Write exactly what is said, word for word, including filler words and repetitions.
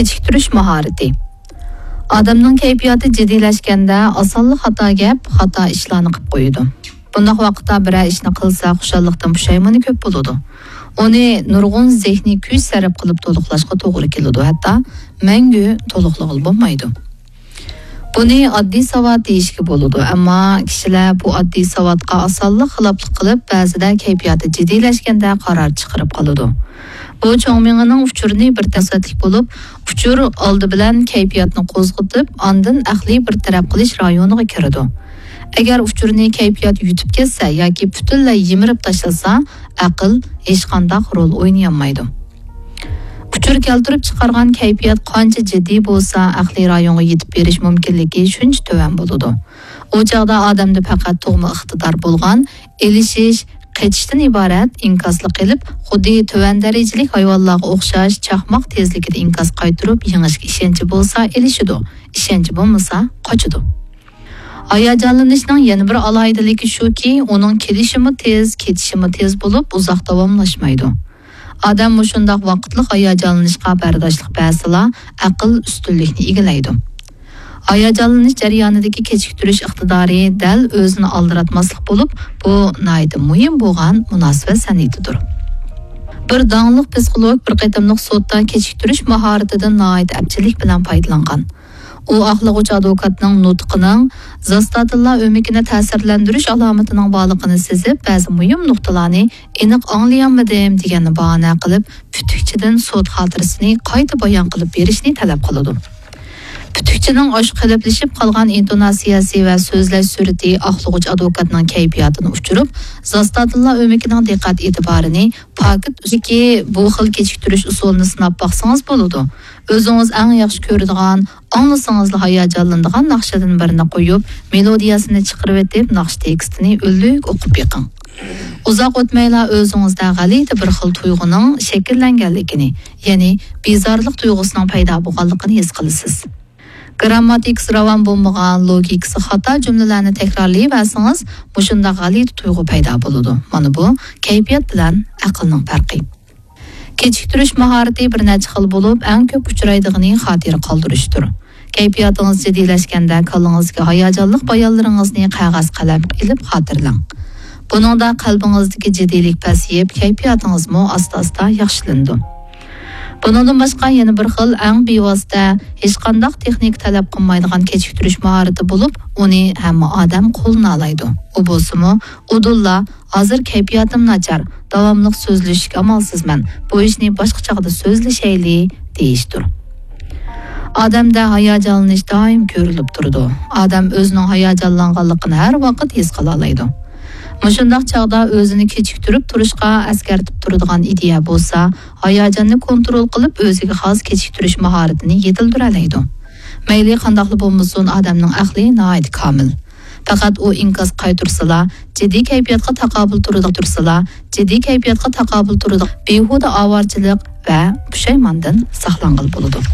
كېچىكتۈرۈش ماھارىتى. ئادەمنىڭ كەيپىياتى جىددىيلەشكەندە ئاسانلا خاتا گەپ، خاتا ئىشلارنى قىلىپ قويىدۇ. بۇنداق ۋاقىتتا بىرەر ئىشنى قىلسا خۇشاللىقتىن پۇشايمىنى كۆپ بولىدۇ. ئۇنى نۇرغۇن زېھنىي كۈچ سەرپ قىلىپ تولۇقلاشقا توغرا كېلىدۇ، ھەتتا مەڭگۈ تولۇقلىغىلى بولمايدۇ. بۇنى ئاددىي ساۋات دېيىشكە بولىدۇ، ئەمما كىشىلەر بۇ ئاددىي ساۋاتقا ئاسانلا خىلاپلىق قىلىپ، بەزىدە كەيپىياتى جىددىيلەشكەندە قارار چىقىرىپ قالىدۇ. بۇ چوڭ مېڭىنىڭ ئۇچۇرىنى بىر تەسەتلىك بولۇپ، ئۇچۇر ئالدى بىلەن كەيپىياتنى قوزغىتىپ، ئاندىن ئەقلىي بىر تەرەپ قىلىش رايونىغا كىرىدۇ. ئەگەر ئۇچۇرنى كەيپىيات يۇتۇپ كەتسە ياكى پۈتۈنلەي يىمىرىپ تاشلىسا، ئەقىل ھېچقانداق رول ئوينىيالمايدۇ. ئۇچۇر كەلتۈرۈپ چىقارغان كەيپىيات قانچە جىددىي بولسا، ئەقلىي رايونغا يېتىپ بېرىش مۇمكىنلىكى شۇنچە تۆۋەن بولىدۇ. ئۇ چاغدا ئادەمدە پەقەت تۇغما ئىقتىدار بولغان ئېلىشىش، قېچىشتىن ئىبارەت ئىنكاسلىق قېلىپ، خۇددى تۆۋەن دەرىجىلىك ھايۋانلارغا ئوخشاش چاقماق تېزلىكىدە ئىنكاس قايتۇرۇپ، يېڭىشكە ئىشەنچى بولسا ئېلىشىدۇ، ئىشەنچى بولمىسا قاچىدۇ. ھاياجانلىنىشنىڭ يەنە بىر ئالاھىدىلىكى شۇكى، ئۇنىڭ كېلىشىمۇ تېز، كېتىشىمۇ تېز بولۇپ، ئۇزاق داۋاملاشمايدۇ. ئادەم مۇشۇنداق ۋاقىتلىق ھاياجانلىنىشقا بەرداشلىق بەرسىلا، ئەقىل ئۈستۈنلۈكنى ئىگىلەيدۇ. ھاياجانلىنىش جەريانىدىكى كېچىكتۈرۈش ئىقتىدارى دەل ئۆزىنى ئالدىراتماسلىق بولۇپ، بۇ ناھايىتى مۇھىم بولغان مۇناسىۋەت سەنئىتىدۇر. بىر داڭلىق پسىخولوگ بىر قېتىملىق سوتتا كېچىكتۈرۈش ماھارىتىدىن ناھايىتى ئەپچىللىك بىلەن پايدىلانغان. ئۇ ئاقلىغۇچ ئادۋوكاتنىڭ نۇتقىنىڭ زاستاتىنلار ئۆمىكىنى تەسىرلەندۈرۈش ئالامىتىنىڭ بارلىقىنى سېزىپ، بەزى مۇھىم نۇقتىلارنى ئېنىق ئاڭلىيالمىدىم دېگەننى باھانە قىلىپ، پۈتۈكچىدىن سوت خاتىرىسىنى قايتا بايان قىلىپ بېرىشنى تەلەپ قىلىدۇ. پۈتۈكچىنىڭ ئاشۇ قېلىپلىشىپ قالغان ئىنتوناتسىيەسى ۋە سۆزلەش سۈرئىتى ئاقلىغۇچ ئادۋوكاتنىڭ كەيپىياتىنى ئۇچۇرۇپ، زاستاتىنلار ئۆمىكىنىڭ دىققەت ئېتىبارىنى پاكىت ئۈستىدىكى بۇ خىل كېچىكتۈرۈش ئۇسۇلىنى سىناپ باقسىڭىز بولىدۇ. ئۆزىڭىز ئەڭ ياخشى كۆرىدىغان، ئاڭلىسىڭىزلا ھاياجانلىنىدىغان ناخشىدىن بىرنى قويۇپ، مېلودىيەسىنى چىقىرىۋېتىپ، ناخشا تېكىستىنى ئۈنلۈك ئوقۇپ بېقىڭ. ئۇزاق ئۆتمەيلا ئۆزىڭىزدە غەلىتە بىر خىل تۇيغۇنىڭ شەكىللەنگەنلىكىنى، يەنى بىزارلىق تۇيغۇسىنىڭ پەيدا بولغانلىقىنى ھېس قىلىسىز. گىرامماتىكىسى راۋان بولمىغان، لوگىكىسى خاتا جۈملىلەرنى تەكرارلىيىۋەرسىڭىز، مۇشۇنداق غەلىتە تۇيغۇ پەيدا بولىدۇ. مانا بۇ كەيپىيات بىلەن ئەقىلنىڭ پەرقى. كېچىكتۈرۈش ماھارىتى بىر نەچچە خىل بولۇپ، ئەڭ كۆپ ئۇچرايدىغىنى خاتىرە قالدۇرۇشتۇر. كەيپىياتىڭىز جىددىيلەشكەندە، كاللىڭىزدىكى ھاياجانلىق بايانلىرىڭىزنى قەغەز قەلەمگە ئېلىپ خاتىرىلەڭ. بۇنىڭدا قەلبىڭىزدىكى جىددىيلىك پەسىيىپ، كەيپىياتىڭىزمۇ ئاستا-ئاستا ياخشىلىنىدۇ. بۇنىڭدىن باشقا يەنە بىر خىل ئەڭ بىۋاسىتە، ھېچقانداق تېخنىكا تەلەپ قىلمايدىغان كېچىكتۈرۈش ماھارىتى بولۇپ، ئۇنى ھەممە ئادەم قوللىنالايدۇ. ئۇ بولسىمۇ، ئۇدۇللا، ھازىر كەيپىياتىم ناچار، داۋاملىق سۆزلىشىشكە ئامالسىزمەن، بۇ ئىشنى باشقا چاغدا سۆزلىشەيلى، دېيىشتۇر. ئادەمدە ھاياجانلىنىش دائىم كۆرۈلۈپ تۇرىدۇ. ئادەم ئۆزىنىڭ ھاياجانلانغانلىقىنى ھەر ۋاقىت ھېس قىلالايدۇ. مۇشۇنداق چاغدا ئۆزىنى كېچىكتۈرۈپ تۇرۇشقا ئەسكەرتىپ تۇرىدىغان ئىدىيە بولسا، ھاياجاننى كونترول قىلىپ، ئۆزىگە خاس كېچىكتۈرۈش ماھارىتىنى يېتىلدۈرەلەيدۇ. مەيلى قانداقلا بولمىسۇن، ئادەمنىڭ ئەقلى ناھايىتى كامىل. پەقەت ئۇ ئىنكاس قايتۇرسىلا، جىددىي كەيپىياتقا تاقابىل تۇرىدىغان، تۇرسىلا، جىددىي كەيپىياتقا تاقابىل تۇرىدىغان بىھۇدە ئاۋارىچىلىق ۋە پۇشايماندىن ساقلانغىلى بولىدۇ.